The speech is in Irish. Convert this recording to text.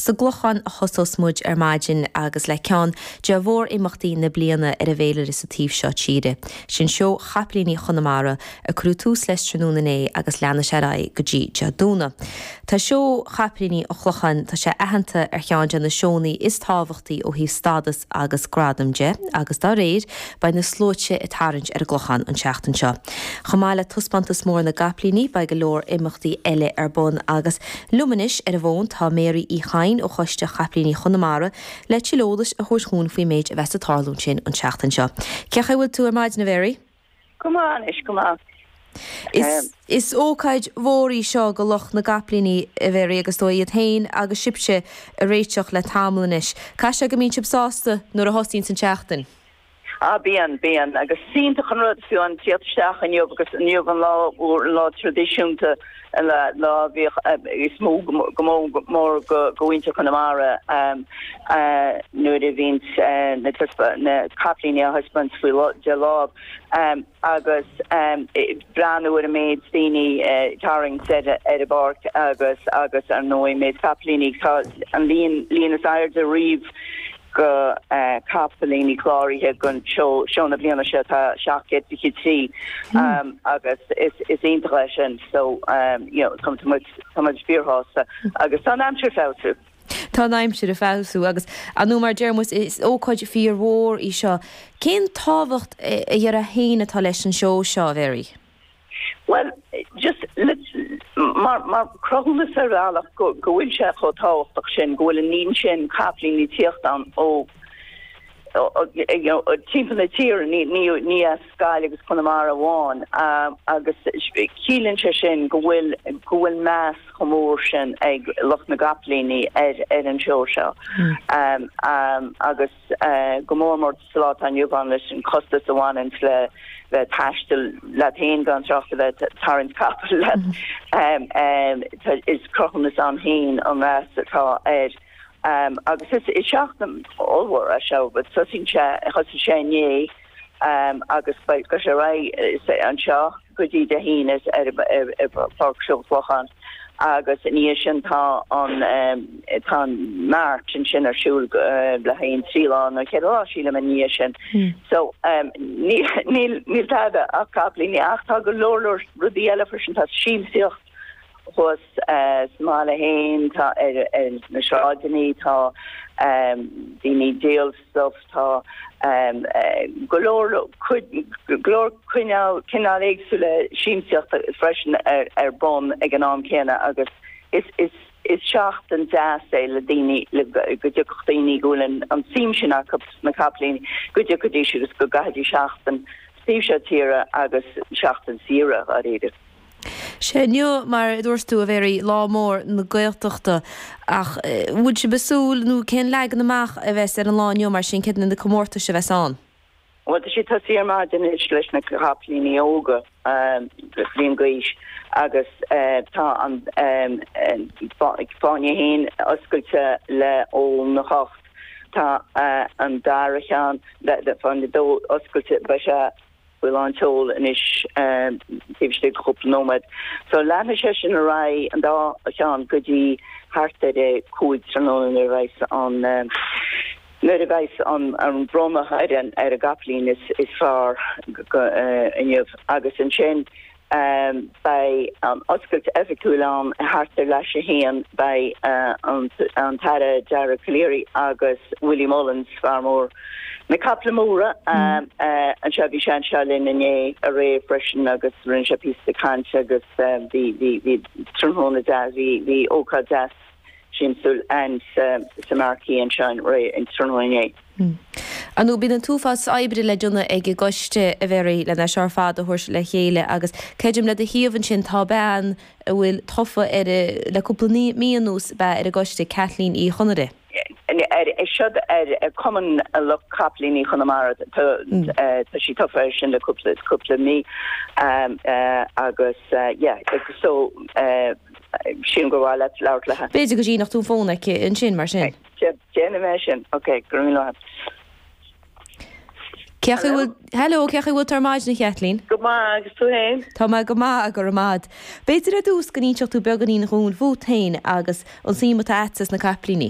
sa gClochán a thosós muid ar maidin agus le ceann de mhór-imeachtaí na bliana ar an bhféilire sa taobh seo tíre. Sin Seó Chapaillíní Chonamara a cuireadh tús leis tráthnóna inné agus leanfaidh sé ar aghaidh go dtí Dé Domhnaigh. Tá Seó Chapaillíní an Chlocháin, tá sé aitheanta ar cheann de na seónna is tábhachtaí ó thaobh stádas agus gradam de agus dá réir, beidh na sluaite ag tarraingt ar an gClochán an tseachtain seo. Chomh maith le taispeántas mór na gcapaillíní, beidh go leor imeachtaí eile ar bun agus liom anois ar an bhfón tá Mary Uí Chadhain ó Choiste Chapaillíní Chonamara le tuilleadh eolais a thabhairt dhúinn faoin méid a bheas ag tarlú ansin an tseachtain seo. Cén chaoi a bhfuil tú ar maidin, a Mhary? Go maith anois, go maith. Is is ócáid mhór í seo go lucht na gcapaillíní, a Mhary, agus is dóigh iad féin agus sibhse ag réiteach le tamall anois. Caithfidh sé go mbíonn sibh sásta nuair a thosaíonns an tseachtain? Ah bíonn, bíonn. Agus is iontach an rud fiú an tíocht isteach inniu agus inniu an lá úr, an lá traidisiúnta, an lá a bhíodh is mó go mór mór go mhuintir Chonamara nuair a bhíonns na capaillíní á thaispeáint faoi de láimh agus breathnú ar an méid daoine ag tarraingt ar an bpáirc agus agus ar ndóigh méid capaillíní tá an líon líon is airde riamh go capaillíní cláraithe don seó seó na bliana seo tá 723 agus is is iontach é sin so you know tá muid tá muid fíorshásta agus tá an aimsir ag feabhsú. Tá an aimsir ag feabhsú agus ar ndóigh mar a deir muid is ócáid fíormhór í seo. Cén tábhacht a déarfá féin atá leis an seó seo, a Mhary? Bhuel, just mar mar cruthúnas ar bhealach go go bhfuil sé chomh tábhachtach sin, go bhfuil an líon sin capaillíní ag tíocht ann ó you know timpeall na tíre, ní ní ní as Gaillimh agus Conamara amháin agus ciallaíonn sé sin go bhfuil go bhfuil meas chomh mór sin ag lucht na gcapaillíní ar ar an seó seo agus go mór mór sa lá atá inniu ann leis an costas a bhaineann le bheith ag taisteal leat féin gan trácht a bheith ag tarraingt capall leat. Is cruthúnas ann féin an meas atá air. Agus is seachtain ollmhór é seo. Tosaíonn sé, thosaigh sé inné agus beidh sé ar aghaidh anseo go dtí Dé hAoine ar Pháirc Seó an Chlocháin agus ina dhiaidh sin tá an tá an mart ansin ar siúl le haghaidh an 3 lá nó 4 lá sílim ina dhiaidh sin. So níl níl níl tada ach capaillíní ach tá go leor leor rudaí eile freisin tá siamsaíocht thuas sa mbaile féin tá ar ar na sráideanna tá daoine ag díol stuff tá go leor cuid go leor cineál cineál éagsúla siamsaíochta freisin ar ar bun ag an am céanna agus is is is seachtain deas é le daoine le go dtiocfadh daoine go bhfuil an an tsuim sin acu sna capaillíní go dtiocfaidís agus go gcaithfidís seachtain sa taobh seo tíre agus seachtain saoire dháiríre. Sé inniu, mar a dúirt tú, a Mhary, lá mór na Gaeltachta. Ach bhfuil sibh ag súil, nó cén leagan amach a bheas ar an lá inniu mar sin, céard iad na comórtais a bheas ann? Bhuel, tá sé ag tosaí ar maidin anois leis na capaillíní óga, bliain d'aois, agus tá an fáinne a haon oscailte le óna hocht. Tá an dara ceann, fáinne a dó oscailte, beidh sé faoi lán tseoil anois taobh istigh de chúpla nóiméad. So leanfaidh sé sin ar aghaidh an dá cheann go dtí thart ar a 5 tráthnóna nuair a bheidh an nuair a bheidh an an bronnadh ar an ar an gcapaillín is is fearr inniu agus ansin Beidh an oscailt oifigiúil ann thart ar leath i ndiaidh a haon. Beidh an tAire Dara Calleary agus Willie Mullins, fear mór na caiple móra, anseo. Bhí sé anseo linn inné, aréir freisin agus rinne sé píosa cainte agus bhí tráthnóna deas, bhí ócáid deas siamsúil ann sa Marquee anseo an tráthnóna inné. Ar ndóigh, bíonn an t-uafás oibre le déanamh ag an gcoiste, a Mhary, lena seo ar fad a thabhairt le chéile agus creidim le do thaobh ansin tá bean a bhfuil tofa ar le cúpla mí anuas ab ea ar an gcoiste, Kathleen Uí Chonaire. Seo ar Cumann Lucht Capaillíní Chonamara, tá sí tofa air sin le cúpla cúpla mí agus yeah so sílim gur mhaith leat labhairt léi. B'fhéidir go síneodh tú an fón aici ansin mar sin. Déanfaidh mé sin. Ok, go raibh míle maith. Cén chaoi a bhfuil, hello, cén chaoi a bhfuil tú ar maidin, a Chaitlín? Go maith, agus tú féin? Tá mé go maith, go raibh maith a'd. B'fhéidir ar dtús go n-inseodh tú beagáinín dhúinn fút féin agus an suim atá a'dsa sna capaillíní.